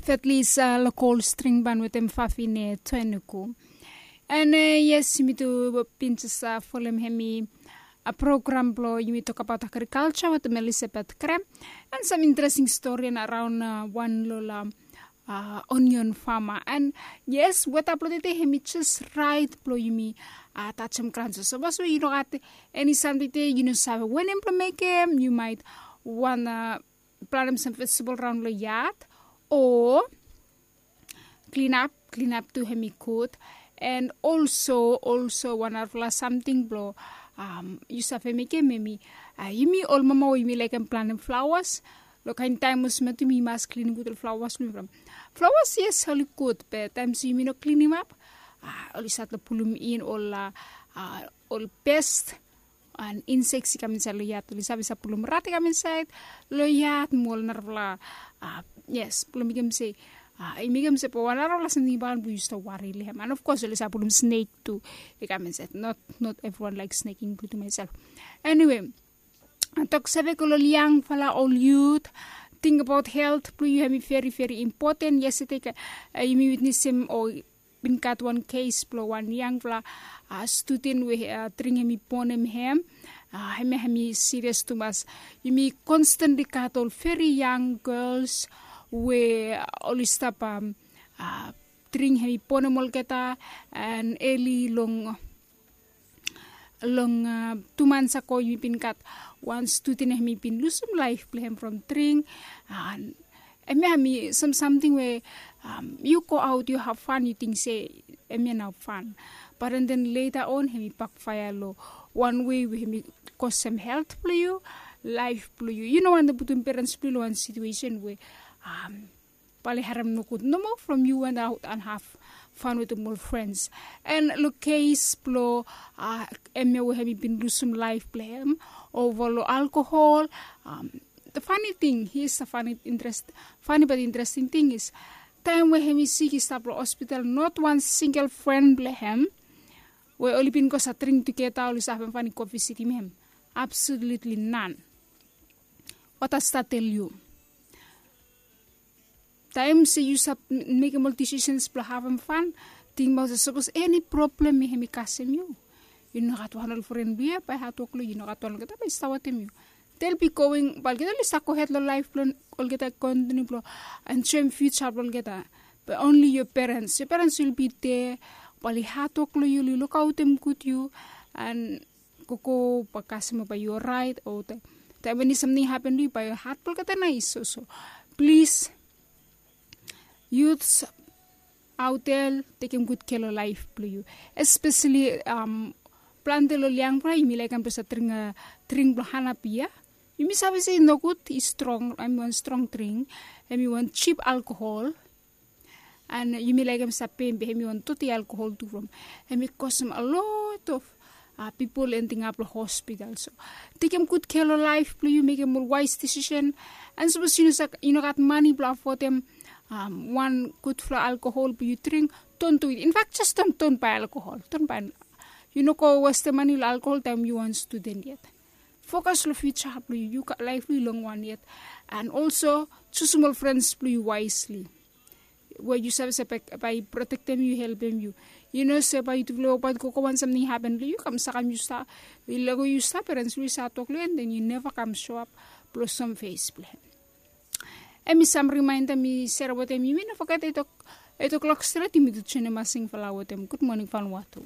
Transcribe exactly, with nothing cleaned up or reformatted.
Fetlis lokol string ban wetem fafine toenuku. An yes, yumi tu bin jes folem hemi program blong yumi tokabaot agrikalja wetem Elizabeth Krem, an sam interesting stori an araon wan long ol onion fama. An yes, weta blong tede hemi jes raet blong yumi tajem gran. So sapos we yu no gat eni samting tede, yu no save wanem blong mekem, yu maet wan planem sam vejetebol raon long yad, o klinap. Klinap tu hemi gud. An olso olso wan narafala samting blong yu save mekem hemi, yumi ol mama we yumi laekem planem flaoas, long kaen taem olsem ya tu yumi mas klinim gud ol flaoas blong yumi from flaoas. Yes, oli gud, be taem se yumi no klinimap, oli stat long pulum in ol ol pest an inseks i kam insaed long yad. Oli save save pulum rat i kam insaed long yad mo ol narafala. Yes, blong mekem se i mekem se po wan narafala samting i bagan blong yu stap wari long hem. An of kos oli save pulum snek tu i kam insaed. Not evriwan laek snek, inkludim maesel. Eniwe, toksave go long ol yangfala ol yut, tingbaot helt blong yu hemi veri veri impoten. Yestade yumi witnesem o bin gat wan kes blong wan yangfala studen we dring hemi bonem hem. Hemia hemi sirias tumas. Yumi konstantli gat ol veri yang gels we oli stap dring hemi bonem olgeta. An eli long long tu mans ago yumi bin gat wan studen hemi bin lusum laef blong hem from dring. An hemia hemi sam samting we yu go aot yu hav fan, yu ting se hemia nao fan, bat an den leta on hemi bakfaea long wan wei we hemi kosem helt blong yu, laef blong yu. Yu no wantem putum perens blong yu long wan situesen we bae oli harem nogud nomo from yu went aot an hav fan wetem ol frens. An long kes blong hemia we hemi bin lusum laef blong hem ova long alkohol. Fani ting is fani bat interesting ting is taem we hemi sik i stap long hospital, not wan singel fren blong hem we oli bin go save dring tugeta oli save havem fan i go visitim hem. Absolutli nan. Wata stat tel yu taem se yu save mekem ol disisens blong havem fan, tingbaot se sapos eni problem i hem i kasem yu, yu no gat wan ol fren blong yu ya bae hatwok long yu, yu no gat wan olgeta bae i stap wetem yu. Del bi going bae olgeta oli stap gohed long laef blong olgeta kontiniu blong enjoem fiuja blong olgeta. Be onli yo perens yo perens wil bi de bae oli hatwok long yu, oli lukaotem gud yu. An gogo bae kasem bae yu oraet o taem we eni samting hapen long yu bae hat blong olgeta nais. So plis, yuts, aotel, tekem gud kea long laef blong yu. Espeseli plante long ol yangfala yumi laekem blong save dring dring blong hanapi ya. Yumi save se i nogud, i strong, hemi wan strong dring. Hemi wan jip alkohol. An yumi laekem save pem be hemi wan doti alkohol tu from hemi kosem a lot of pipol ending ap long hospital. So tekem gud kea long laef blong yu, mekem ol waes disisen. An sapos yu no gat mane blong afodem wan gudfala alkohol blong yu dring, don du it. Infak jes don don bae alkohol, don bae. Yu no go westem mane long alkohol taem yu wan studen yet. Fokas long fiuja blong yu. Yu gat laef blong yu long wan yet. An olso jusum ol frens blong yu waesli we yu save se bae i protektem yu, i helpem yu. Yu no se bae yutufala i wokbaot gogo wan samting i hapen long yu, kam sakem yu stap, i lego yu stap, perens blong yu i save tok long yu an den yu neva kam soap blong som fes blong hem. Hemi sam rimaenda mi serem wetem yumi. No foget eight o'clock stret yumi tu joinim masingfala wetem Gud Moning Vanuatu.